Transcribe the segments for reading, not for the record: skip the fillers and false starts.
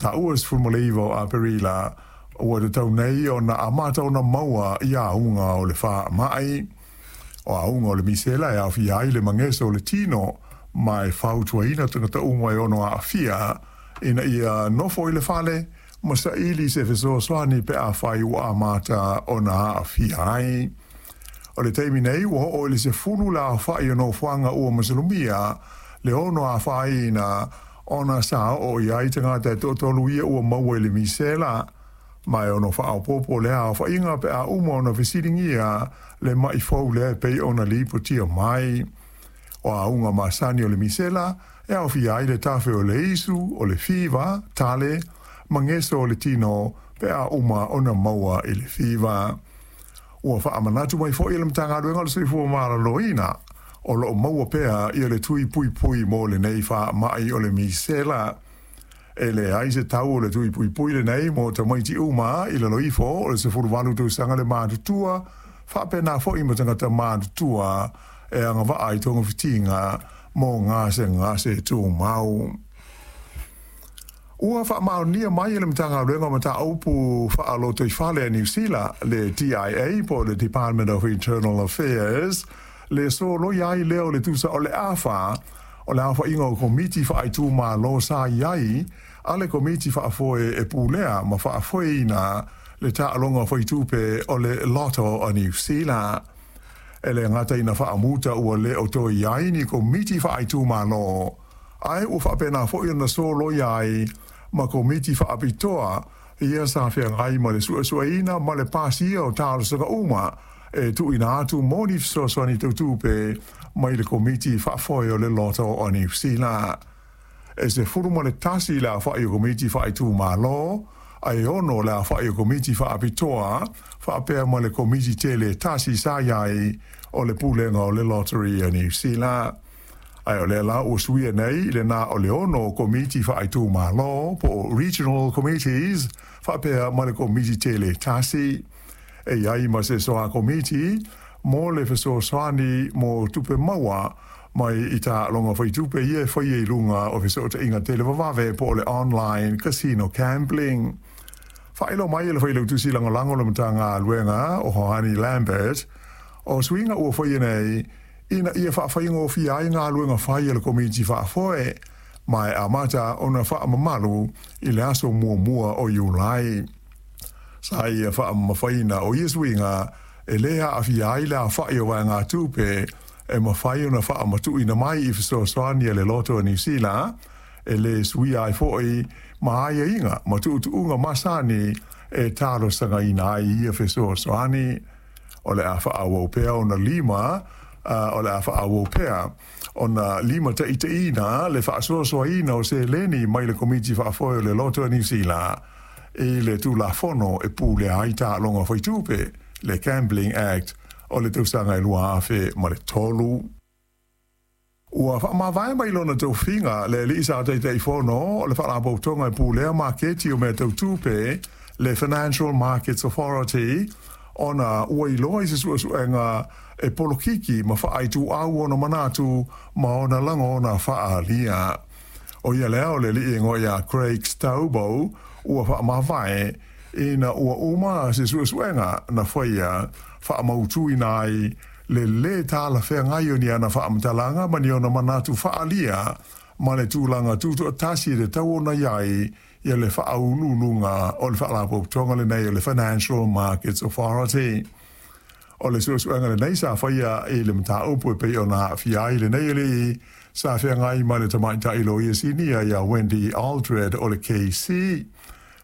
Taua 19 o Aperila ua tatau nei ona amata ona maua i auga o le faamai. O auga o le misela e aofia ai le mageso o le tino ma e fautuaina tagata uma e ono aafia ina ia nofo i le fale ma saili se fesoasoani pe afai ua amata ona aafia ai. O le taimi nei ua oo i le 10 le aofai o nofoaga ua masalomia le ono afaina ona sa oo i ai tagata e toatolu ia ua maua i le misela, ma e ono faaopoopo lea aofaiga pe a uma ona fesiligia le mai fou lea e pei ona lipotia mai. O auga masani o le misela e aofia ai le tafe o le isu, o le fiva, tale, mageso o le tino pe a uma ona maua i le fiva. Ua faamanatu mai foi e le Matagaluega o le Soifua Maloloina o loo maua pea ia le tui puipui mo lenei faamai o le misela. E leai se tau o le tui puipui lenei mo tamaiti uma i lalo ifo o le 18 tausaga le matutua, faapena foi ma tagata matutua e agavaa i togafitiga mo gasegase tumau. Ua faamaonia mai e le Matagaluega o Mataupu Faalotoifale a Niu Sila, le DIA po o le Department of Internal Affairs, le soloia ai lea o le tusa o le afa o le aofaiga o komiti faaitumalo sa i ai a le Komiti Faafoe e pulea ma faafoeina le taaloga faitupe o le Lotto a Niu Sila. E le gata ina faamuta ua le o toe i ai ni komiti faaitumalo, ae ua faapena foi ona soloia ai ma komiti faapitoa ia sa feagai ma le suesueina ma le pasia o talosaga uma e tuuina atu mo ni fesoasoani tau tupe mai le Komiti Faafoe o le Lotto a Niu Sila. E 11 le aofai o komiti faaitumalo, ae 6 le aofai o komiti faapitoa, faapea ma le komiti tele e tasi sa i ai o le Pulega o le Lottery a Niu Sila. Ae o lea la ua suia nei i le na o le 6 komiti faaitumalo po o Regional Committees faapea ma le komiti tele e tasi. E i ai ma se soa komiti mo le fesoasoani mo tupe maua mai i taaloga faitupe ia e faia i luga o fesootaiga televavave po o le online casino gambling. Faailoa mai e le Failautusi Lagolago o le Matagaluega o Hoani Lambert, o suiga ua faia nei ina ia faafaigofie ai galuega fai a le Komiti Faafoe, ma e amata ona faamamalu i le aso 1 o Iulai. Sa ia faamamafaina o ia suiga e lē aafia ai le aofai o vaegatupe e mafai ona faamatuuina mai i fesoasoani a le Loto a Niu Sila, e lē suia ai foi ma aiaiga ma tuutuuga masani e talosagaina ai ia fesoasoani. O le a faaauau pea ona lima o le a faaauau pea ona limataitaiina le faasoasoaina o seleni mai le Komiti Faafoe o le Loto a Niu Sila i le Tulafono e pulea ai taaloga faitupe, le Gambling Act o le tausaga e 2003. Ua faamavae mai lona tofiga le alii sa Taitaifono o le Faalapotopotoga e pulea maketi o mea tau tupe, le Financial Markets Authority, ona ua iloa i se suesuega e polokiki ma faaituau ona manatu ma ona lagona faaalia. O ia lea o le alii e igoa ia Craig Stobo ua faamavae ina ua uma se suesuega na faia faamautuina ai le lē talafeagai o ni ana faamatalaga ma ni ona manatu faaalia ma le tulaga tutoatasi e tatau ona i ai ia le faauluuluga o le Faalapotopotoga lenei o le Financial Markets Authority. O le suesuega lenei sa faia i le mataupu e pei ona aafia ai lenei alii sa feagai ma le tamaitai loia sinia ia Wendy Aldred o le KC.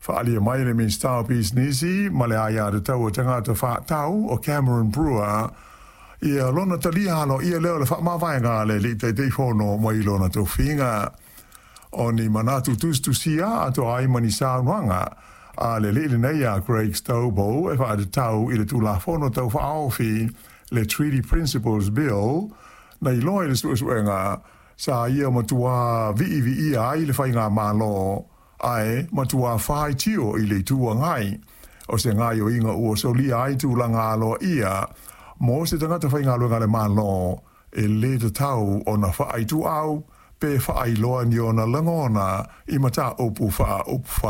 Faaalia mai le Minisita o Pisinisi ma le Aiatatau a Tagata Faatau o Cameron Brewer ia lona talia aloaia lea o le faamavaega a le alii Taitaifono mai lona tofiga. O ni manatu tusitusia atoa ai ma ni saunoaga a le alii lenei ia Craig Stobo e faatatau i le Tulafono Tau Faaofi, le Treaty Principles Bill, na iloa i le suesuega sa ia matuā viiviia ai le faigamalo ae matuā faitio i le Itu Agai. O se gaoioiga ua solia ai tulaga aloaia mo se tagata faigaluega a le Malo e lē tatau ona faaituau pe faailoa ni ona lagona i mataupu faaupufai.